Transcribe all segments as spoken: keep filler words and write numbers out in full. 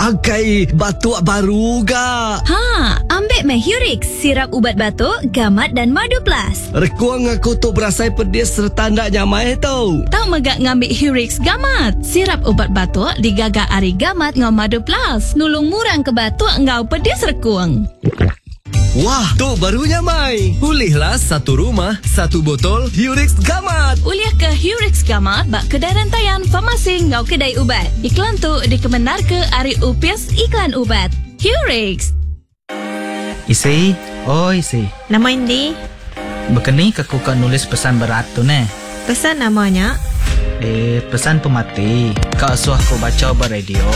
Angkai batuk baru ga. Ha, ambil meh Hurix, sirap ubat batuk, gamat dan madu plus. Rekuang aku tu berasai pedis serta ndak nyamai tau. Tau megak ngambil Hurix gamat. Sirap ubat batuk digaga ari gamat ngau madu plus. Nulung murang ke batuk ngau pedis rekuang. Wah, tu baru nyamai. Pulihlah satu rumah, satu botol Hurix Gamat. Ulih ke Hurix Gamat bak kedai rantaian farmasi ngau kedai ubat. Iklan tu dikemenar ke ari Upis Iklan Ubat. Hurix. Isi, oi isi. Nama Indi? Bekeni ke ku ka nulis pesan berat tu ne? Pesan namanya? Eh, pesan pemati. Kak suah ku baca ba radio.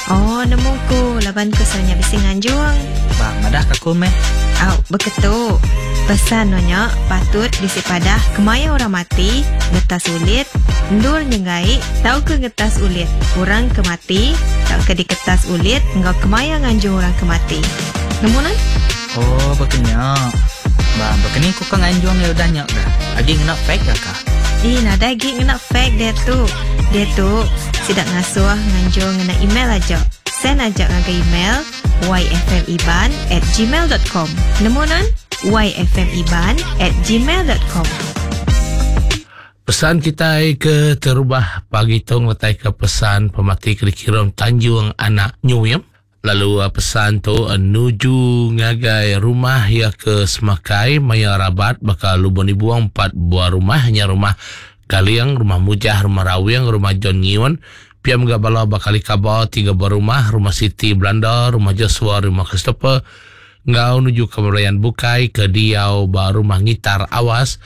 Oh, nemu ku laban ku sonya bisi nganjung. Bah, madah ka aku meh. Au, beketu. Pesan nonya patut bisi padah kemaya orang mati, ngetas ulit, ndur nyengai, tau ke ngetas ulit. Orang ke mati, tau ke diketas ulit, ngau kemaya nganjung orang ke mati. Nemu nan? Oh, bekenya. Bah, bekeni ku ka nganjung ya udah nyak dah. Agi ngena fake dah kah? Ih, nadai agi ngena fake dia tu. Dia tu sidak ngasuh nganjung ngena email aja. Send aja ngagai email yfmiban at gmail dot com. Nemu nan? yfmiban at gmail dot com. Pesan kita ke terubah pagi tu ngetai ke pesan pemati ke dikirim Tanjung Anak Nyuim. Lalu pesan tu nuju ngagai rumah ya ke Semakai Maya Rabat bakal lubang dibuang empat buah rumah nya rumah Kaliang, rumah Mujah, rumah Rawing, rumah John Ngion. Piam gak bala bakal ikaba tiga buah rumah, rumah Siti Belanda, rumah Joshua, rumah Christopher. Ngau nuju ke Melayan Bukai ke Diau ba rumah Ngitar Awas,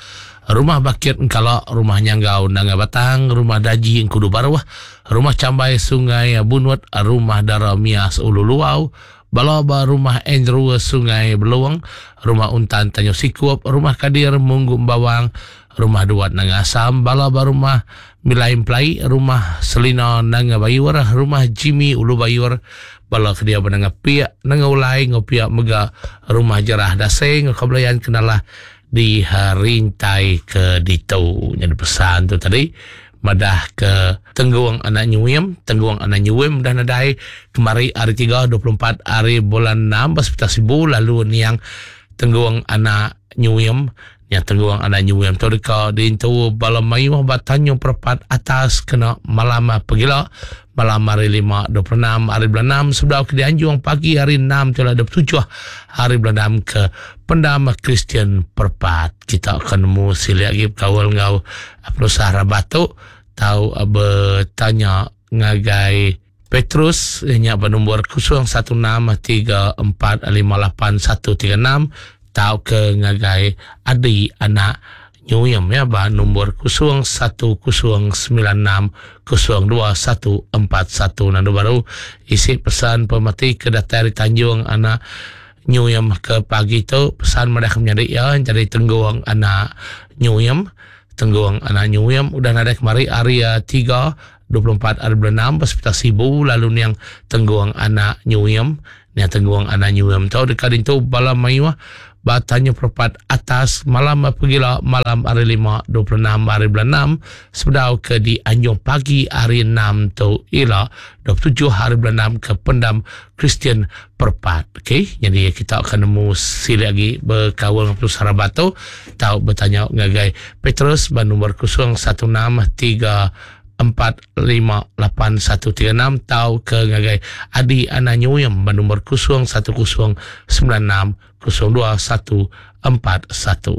rumah Bakit Engkala, rumah Nyanggau Nanga Batang, rumah Daji Engkudu Baruh, rumah Cambai Sungai Bunut, rumah Dara Mias Ulu Luau, bala ba rumah Andrew Sungai Beluang, rumah Untan Tanyo Sikup, rumah Kadir Munggu Bawang, rumah Duat Nanga Asam, bala ba rumah Milaim Plai, rumah Selina Nanga Bayur, rumah Jimmy Ulu Bayur, bala ke dia benanga piak Nanga Ulai, ngau piak mega rumah Jerah Daseng, ngau kebelayan kenalah di rintai ke ditu. Jadi pesan tu tadi madah ke Tengguang Anak Nyuim, Tengguang Anak Nyuim dah nadai kemari hari tiga dua puluh empat hari bulan enam belas Sibu lalu niang Tengguang Anak Nyuim. Yang Tengguang Anak Nyuim tu deka diintu bala mayuh batanyung perpat atas kena malam pegila malam hari lima dua puluh enam hari bulan enam sebelah ke dianjung pagi hari enam telah dua puluh tujuh hari bulan enam ke pendam Kristian Perpat. Kita akan nemu siliak lagi kawal ngau perusahaan Rabatuk tau bertanya ngagai Petrus nya bernombor kosong satu enam tiga empat lima lapan satu tiga enam tau ke ngagai Adi Anak Nyuyem ya ba nombor kosong satu kosong sembilan enam kosong dua satu empat satu. Nandu baru isi pesan pemati ke datai di Tanjung Anak Nyuyem ke pagi tu pesan madah menjadi ya jadi Tengguang Anak Nyuyem. Tengguang Anak Nyuyem udah nadai kemari hari tiga dua puluh empat hari bulan enam hospital Sibu lalu niang Tengguang Anak Nyuyem. Niang Tengguang Anak Nyuyem tu dekat itu bala mayuh batanya perpat atas malam pegila malam hari lima dua puluh enam hari bulan enam sebedau ke di Anjung pagi hari enam tu ila dua puluh tujuh hari bulan enam ke pendam Kristian Perpat. Okey, jadi kita akan nemu sili lagi berkawal dengan Petrus Harabato tau bertanya ngagai Petrus ban nombor kosong satu enam tiga empat lima lapan satu tiga enam tau ke ngagai Adi Anak Nyuyem ban nombor kosong satu kosong sembilan enam kosong dua satu empat satu.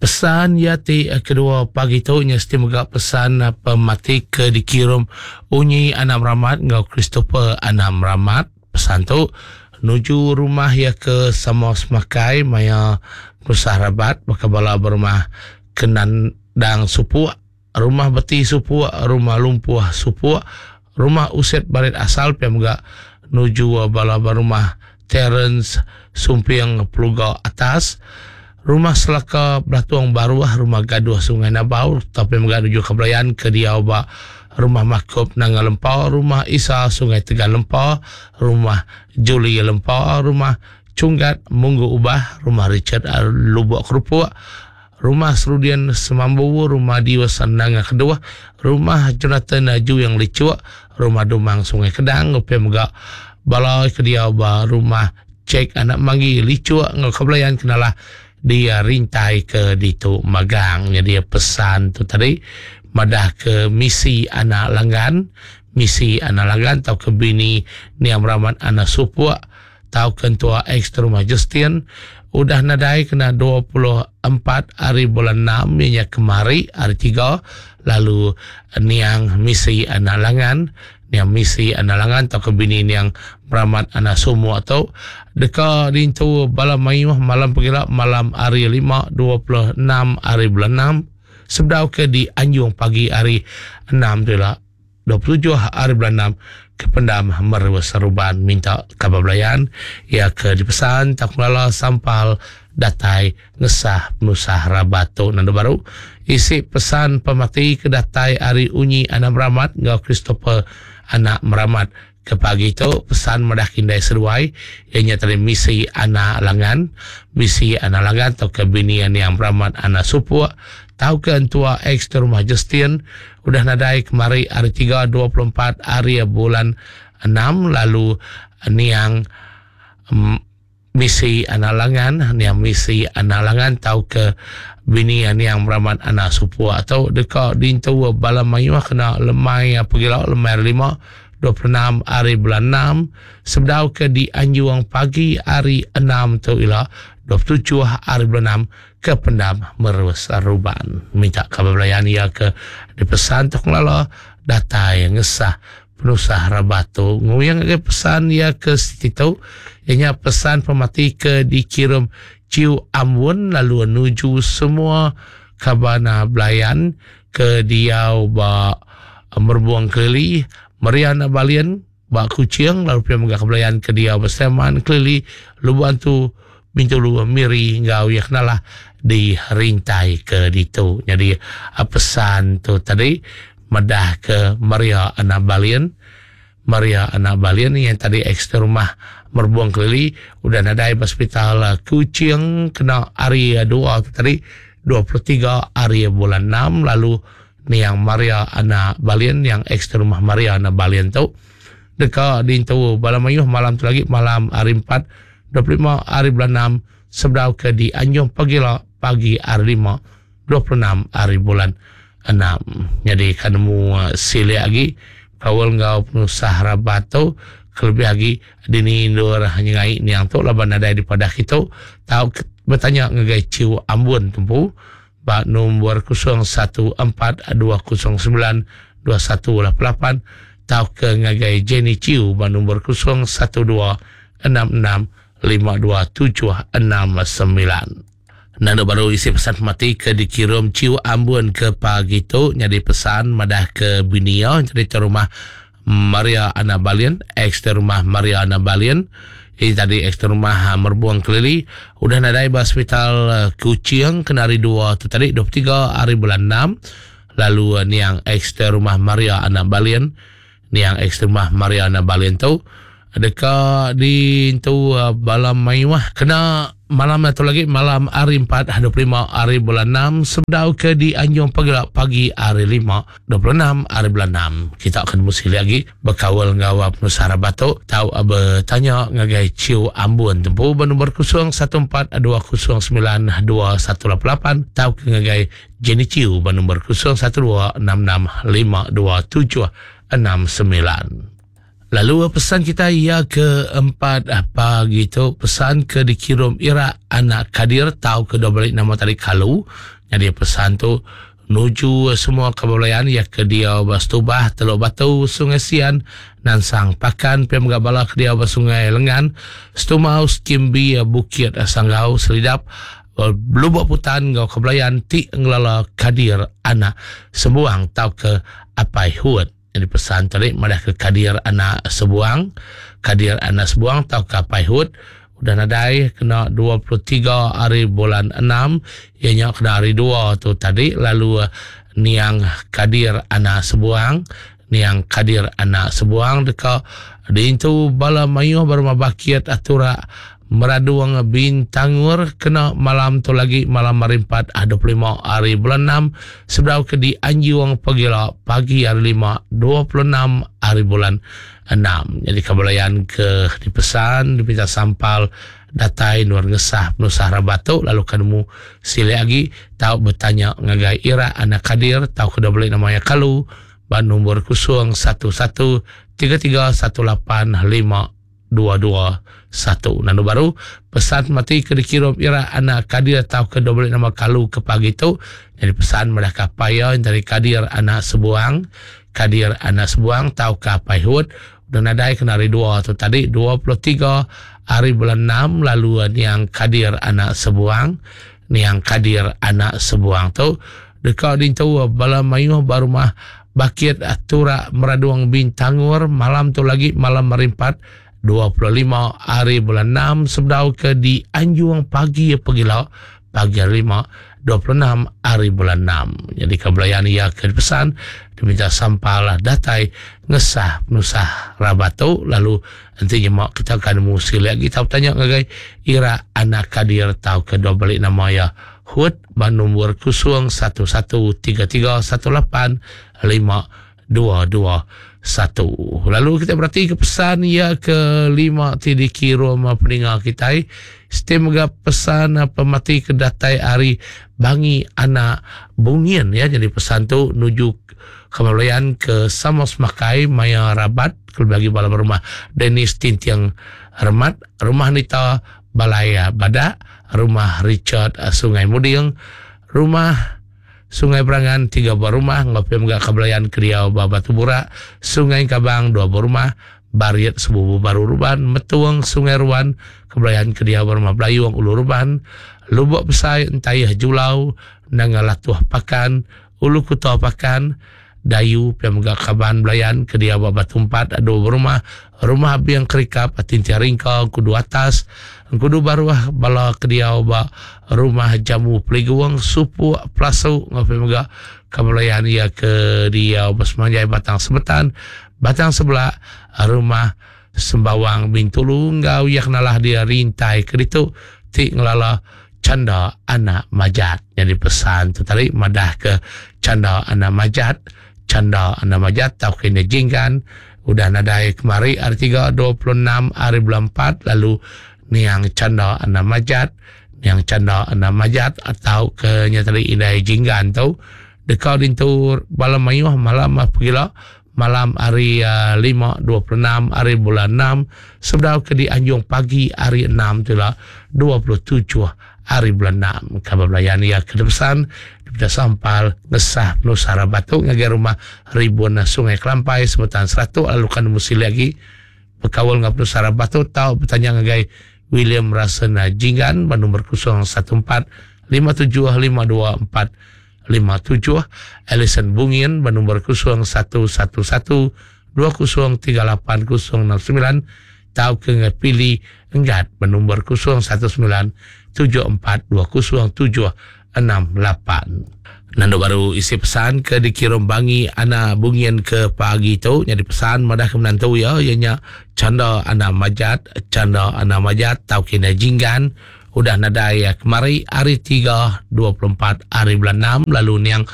Pesan ya ti kedua pagi tu nya mesti mega pesan pemati ke dikirim Unyi Anam Ramat ngau Christopher Anam Ramat. Pesan tu nuju rumah ya ke sama semakai maya Perusahaan Rabat maka bala berumah Kenandang Supuk, rumah Beti Supuk, rumah Lumpuh Supuk, rumah Uset Barit Asal pia mega nuju bala berumah Terence Sumpiang Peluga Atas, rumah Selaka Belatuang Baruah, rumah Gaduh Sungai Nabau, tapi mega nuju kebelayan ke diau ba rumah Makup Nanga Lempau, rumah Isa Sungai Tegal Lempau, rumah Julie Lempau, rumah Cunggat Munggu Ubah, rumah Richard Lubuk Kerupuk, rumah Serudian Semambu, rumah Diwa Sandanga Kedua, rumah Jonathan Ju yang Licuk, Rumah Dumang Sungai Kedang upia mega bala ke dia ba rumah Cek Anak Manggi Licuk ngau kebelayan kenalah dia rintai ke ditu magang. Jadi pesan tu tadi madah ke misi anak langgan, misi anak langgan tau ke bini Niam Rahmat anak Supuk tau ke entua ex rumah Justin udah nadai kena dua puluh empat hari bulan enam ianya kemari hari tiga, lalu niang misi anak langan, niang misi anak langan tau ke bini niang Rahmat anak Sumuk tu deka dintu bala mayuh malam pegila malam hari lima dua puluh enam hari bulan enam sebedau ke di Anjung pagi hari enam tu lah dua puluh tujuh hari bulan enam ke pendam Merus Seruban. Minta kabar belayan ia ke dipesan tak melala sampal datai ngesah penusah rabat tu. Nanda baru isi pesan pemati ke datai hari Unyi anak Meramat ngau Christopher anak Meramat ke pagi tu pesan madah kindai seduai ianya tadi misi anak langan, misi anak langan atau ke bini yang Meramat anak Supuk tau ke entua ex rumah Justin udah nadai kemari hari tiga dua puluh empat hari bulan enam, lalu niang um, misi anak langan, niang misi anak langan tau ke bini niang Meramat anak Supuk atau deka dintu bala mayuh kena lemai pegila lemai lima dua puluh enam hari bulan enam sebedau ke di Anjuang pagi hari enam tu ila dua puluh tujuh hari bulan enam ke pendam Merus Ruban. Minta kabar belayan ia ke dipesan tok lala datai ngesah penusah rabat tu. Nguyang ke pesan ia ke situ ianya pesan pemati ke dikirim Ciu Ambun lalu menuju semua kabana belayan ke diau ba Merbuang Kelili Mariana Balian ba Kuching lalu pia megah kebelayan ke dia berseman Kelili Lubuan tu Bintulu Miri ngau ya kenalah di rintai ke ditu. Jadi pesan tu tadi madah ke Maria anak Balian, Maria anak Balian yang tadi ex rumah Merbuang Kelili udah nadai hospital Kuching kena hari dua tu tadi dua puluh tiga hari bulan enam, lalu niang Maria anak Balian yang ex rumah Maria anak Balian tu deka dintu bala mayuh malam tu lagi malam hari empat dua puluh lima hari bulan enam sebedau ke di Anjung pagi pagi hari lima dua puluh enam hari bulan enam. Jadi kan mu silik lagi kawal ngau penusah rabat tu kelebih lagi dini indur hanya ngai niang tu laban nadai di padah kita tau bertanya ngagai Ciu Ambun tumpu bak nombor kosong satu empat dua kosong sembilan dua satu lapan lapan tau ke ngagai Jenny Ciu bak nombor kosong satu dua enam enam lima dua tujuh enam sembilan. Nanda baru isi pesan mati ke dikirim Ciu Ambun ke pagi tu jadi pesan madah ke binia jadi rumah Maria Anak Balian ex rumah Maria Anak Balian ini tadi ex rumah Merbuang Kelili udah nadai ba hospital Kuching kena hari dua tu tadi dua puluh tiga hari bulan enam, lalu niang ex rumah Maria Anak Balian, niang ex rumah Maria Anak Balian tu deka di tu bala mayuh kena malam atau lagi malam hari empat dua puluh lima hari bulan enam sebedau ke di Anjung pagi pagi hari lima dua puluh enam hari bulan enam. Kita akan mesti lagi berkawal ngawal penusah batuk tau bertanya ngagai Ciu Ambun tempu bernombor kosong satu empat dua kosong sembilan dua satu lapan lapan tau ke ngagai Jenny Ciu bernombor kosong satu dua enam enam lima dua tujuh enam sembilan. Lalu pesan kita ia keempat pagi tu pesan ke dikirim Ira anak Kadir tahu ke dua balik nama tadi Kalu. Jadi pesan tu nuju semua kebelayan ya ke dia Bastubah Teluk Batu Sungai Sian Nansang Pakan P M Gabala ke dia Sungai Lengan Stumau Skimbi Bukit Sanggau Selidap Lubuk Putan ngau kebelayan ti ngelala Kadir anak Sembuang tau ke Apai Huat. Jadi pesan tadi madah ke Kadir anak Sebuang, Kadir anak Sebuang tau ke Apai Hud udah nadai kena dua puluh tiga hari bulan enam ianya kena hari dua tu tadi, lalu niang Kadir anak Sebuang, niang Kadir anak Sebuang deka diintu bala mayuh berumah bakit atura Meraduang Bintangur kena malam tu lagi malam hari empat dua puluh lima hari bulan enam sebedau ke di Anjung Pegila pagi hari lima dua puluh enam hari bulan enam. Jadi kebelayan ke dipesan dipinta sampal datai nuar ngesah penusah rabat tu lalu kanemu sile lagi tau bertanya ngagai Ira anak Kadir tau ke beli namanya kalu ban nombor kosong satu satu tiga tiga satu lapan lima dua dua satu. Nanu baru pesan mati ke dikirim Ira anak Kadir tau ke beli nama kalu ke pagi tu. Jadi pesan madah kapaya dari Kadir anak Sebuang, Kadir anak Sebuang tau ke apai hud dan nadai kena hari dua tu tadi dua puluh tiga hari bulan enam lalu niang Kadir anak Sebuang, niang Kadir anak Sebuang tu dekat dintu bala mayuh barumah Bakit Turak Meraduang Bintangur malam tu lagi malam hari empat dua puluh lima hari bulan enam sebedau ke di Anjung pagi pegila pagi hari lima dua puluh enam hari bulan enam. Jadi kebelayan ia ke pesan diminta sampal datai ngesah penusah rabat tu lalu nanti nyemak kita akan musi lagi tau tanya ngagai Ira anak Kadir tau ke dua balik nama ya Hud ban nombor kosong satu satu tiga tiga satu lapan lima dua dua satu. Lalu kita berarti ke pesan ya ke lima ti dikirim pendengar kita. Sistem juga pesan pemati ke datai hari Bangi anak Bungin ya. Jadi pesan tu nuju kemalayan ke Samos Makai Maya Rabat ke bagi bala rumah Dennis Tintiang Remat, rumah Nita Balaya Badak, rumah Richard Sungai Muding, rumah Sungai Berangan tiga buah rumah, ngopi megak kebelayan Kriau Batu Burak, Sungai Kabang dua buah rumah, Bariet Sebubu Baru Ruban, Metuang Sungai Ruan, kebelayan Kriau Rumah Belayung Ulu Ruban, Lubuk Besai Entayah Julau, Nangalatuh Pakan, Ulu Kuta Pakan, Dayu pia megak Kaban Belayan Kriau Batu Empat dua buah rumah, Rumah Biang Kerikap Tintia Ringka Kudu Atas, Kudu Baruah Bala Kediau ba Rumah Jamu Peliguang Supu Plasu ngopi mega kebelayan ia ke diau Bersemanjai Batang Sebetan Batang Sebelah Rumah Sembawang Bintulu ngau yak nalah dia rintai ke ditu ti ngelala Canda anak Majat. Jadi pesan tu tadi madah ke Canda anak Majat, Canda anak Majat tau kena jinggan udah nadai kemari hari tiga dua puluh enam hari bulan empat lalu niang Canda anak Majat, niang Canda anak Majat atau ke nyatari indai jinggan tu dekat dintu bala mayuh malam pergila malam hari uh, lima dua puluh enam hari bulan enam sebedau ke di Anjung pagi hari enam tu lah dua puluh tujuh hari bulan enam. Kabar belayan ia ke depan daripada sampal ngesah penusara batu ngagai rumah ribuan Sungai Kelampai sebutan seratus lalu kan musi lagi berkawal dengan penusara batu tau bertanya ngagai William Rasena Jinggan nombor kosong satu empat lima tujuh lima dua empat lima tujuh, Alison Bungin bernombor kosong satu satu satu dua kosong tiga lapan kosong enam sembilan, tau ke ngepili enggat bernombor kosong satu sembilan tujuh empat dua kosong tujuh enam lapan. Nando baru isi pesan ke dikirim Bangi anak Bungin ke pagi tu jadi pesan madah ke menantu ya ianya Canda anak Majat, Canda anak Majat tau kena jinggan udah nadai ya kemari hari tiga dua puluh empat hari bulan enam lalu niang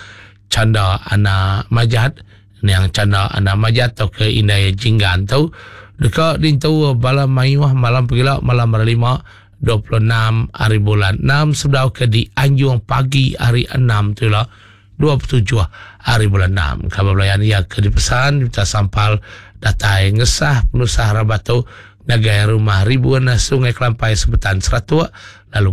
Canda anak Majat, niang Canda anak Majat tau ke indai jinggan tu dekat dintu bala mayuh malam pergila malam hari lima dua puluh enam hari bulan enam sebedau ke di Anjung pagi hari enam tu lah dua puluh tujuh hari bulan enam. Kabar belayan ia ke dipesan minta sampal datai ngesah penusah rabatu ngagai rumah ribuan Sungai Kelampai sebutan seratus lalu